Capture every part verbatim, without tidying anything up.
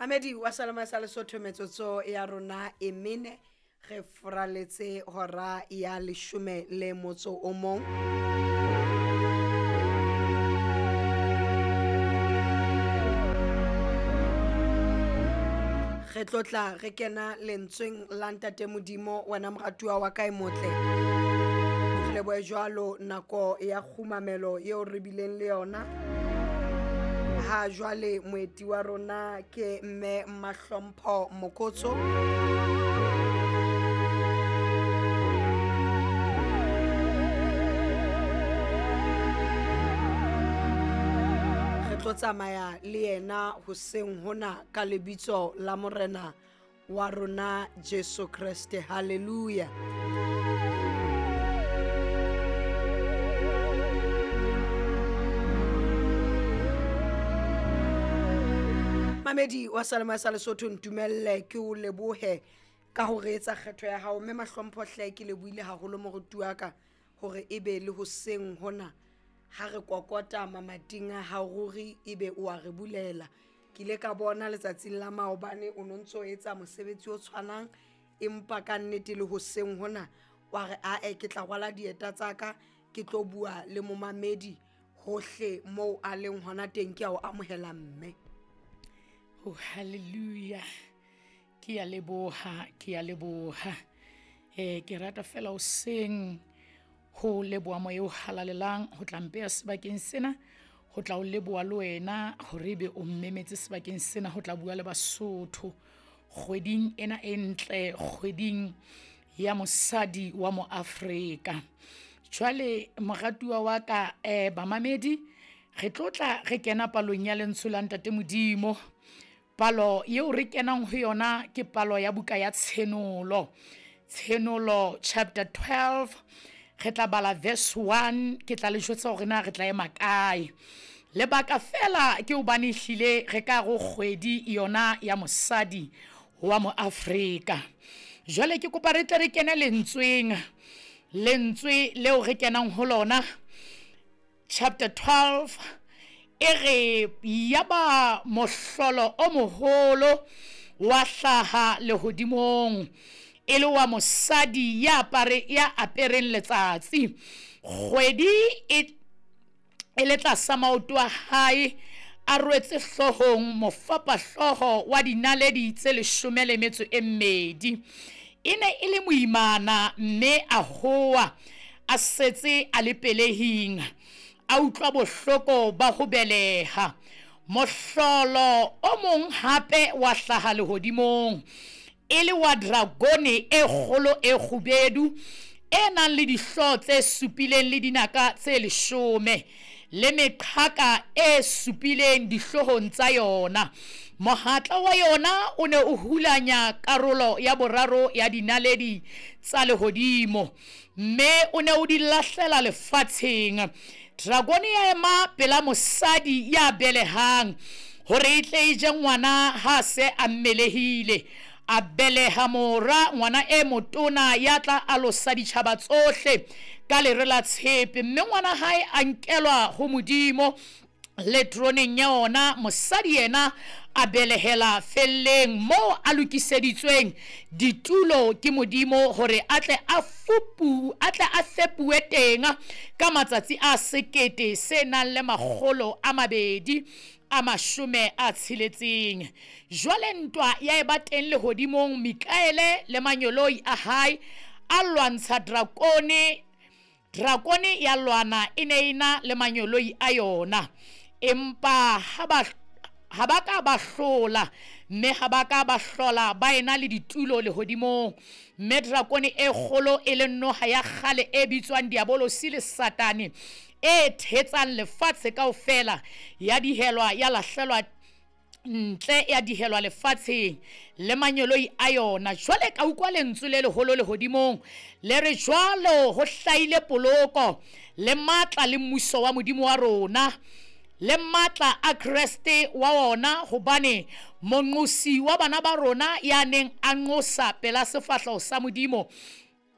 Mamedi wa Salama sa Lesotho, metsotso ya rona e mene re foraletse hora ya leshome le motso o mong. Re tlotla re kena lentsweng la Ntate Modimo, wena moratuwa wa ka e motle. Re lebohe jwalo nako ya kgumamelo eo re bileng le yona. Ha jwale moeti wa rona ke mme Mahlompho Mokotso. Re tlo tsamaya le yena hoseng hona ka lebitso la Morena wa rona Jesu Kreste. Hallelujah. Mamedi wa Salama sa Lesotho, ntumelle ke o lebohe ka ho re etsa kgetho ya hao. Mme Mahlompho hle, ke lebohile haholo moruti wa ka hore ebe le hoseng hona ha re kokota mamating a hao ruri ebe o a re bulela. Ke ile ka bona letsatsing la maobane o no ntso etsa mosebetsi o tshwanang, empa ka nnete le hoseng hona wa re ae ke tla rwala dieta tsa ka ke tlo bua le momamedi hohle moo a leng hona teng. Ke a o amohela mme. Oh, hallelujah. Ke a leboha, ke a leboha. Eh, ke rata fela hoseng ho leboha moya o halalelang ho tla mpeha sebakeng sena, ho tla o leboha le wena hore ebe o mmemetse sebakeng sena ho tla bua le Basotho kgweding ena e ntle, kgweding ya mosadi wa mo Afrika. Jwale moratuwa wa ka, eh, bamamedi, re tlotla re kena palong ya lentswe la Ntate Modimo. Palo eo re kenang ho yona ke palo ya buka ya Tshenolo. Tshenolo chapter twelve, re tla bala verse one, ke tla le jwetsa hore na re tla ema kae. Lebaka fela ke hobane ehlile re ka re kgwedi yona ya mosadi wa mo Afrika. Jwale ke kopa re tle re kene lentsweng, lentswe leo re kenang ho lona chapter twelve, e re yaba mohlolo o moholo wa hlaha lehodimong, e le wa mosadi ya apare, ya apereng letsatsi, kgwedi e, e le tlasa maoto a hae, a rwetse hloohong mofapahlooho wa dinaledi tse leshome le metso e mmedi. E ne e le moimana mme a howa a setse a le pelehing, a utlwa bohloko ba ho beleha. Mohlolo o mong hape wa hlaha lehodimong, e le wa dragone e kgolo e kgubedu, e nang le dihlooho tse supileng le dinaka tse leshome, le meqhaka e supileng dihloohong tsa yona. Mohatla wa yona o ne o hulanya karolo ya boraro ya dinaledi tsa lehodimo, mme o ne o di lahlela lefatsheng. Dragone ya ema pela mosadi ya belehang hore e tle e je ngwana ha se a mmelehile. A beleha mora, ngwana e motona ya tla alosa ditjhaba tsohle ka lere la tshepe, mme ngwana hae a nkelwa ho Modimo le troneng ya ona. Mosadi yena a belehela felleng moo a lokiseditsweng ditulo ke Modimo hore a tle a fupu, a tle a fepuwe teng ka matsatsi a sekete se nang le makgolo a mabedi a mashome a tsheletseng. Jwale ntwa ya eba teng lehodimong, Mikaele le manyoloi a hae a lwantsha drakone. Drakone ya lwana e ne e na le manyoloi a yona, empa ha ba, ha ba ka ba hlola, mme ha ba ka ba hlola ba ena le ditulo lehodimong. Mme drakone e kgolo e leng noha ya kgale e bitswang Diabolosi le Satane, e thetsang lefatshe kaofela, ya dihelwa, ya lahlelwa ntle, ya dihelwa lefatsheng le manyoloi a yona. Jwale ka utlwa lentswe le leholo lehodimong le re, jwalo ho hlahile poloko le matla le mmuso wa Modimo wa rona le matla a Kreste wa ona, hobane monqosi wa bana ba rona ya neng a nqosa pela sefahleho sa Modimo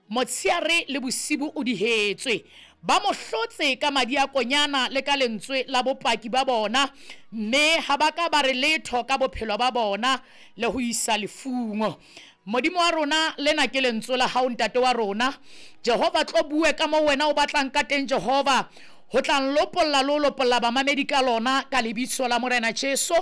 motsheare le bosibu o dihetswe. Ba mo hlotse ka madi a konyana le ka lentswe la bopaki ba bona, mme ha ba ka ba re letho ka bophelo ba bona le ho isa lefung. Modimo wa rona, lena ke lentswe la hao, ntate wa rona. Jehova, tlo bue ka moo wena o batlang ka teng, Jehova, ho tla nlopolla le ho lopolla bamamedi ka lona, ka lebitso la Morena Jesu.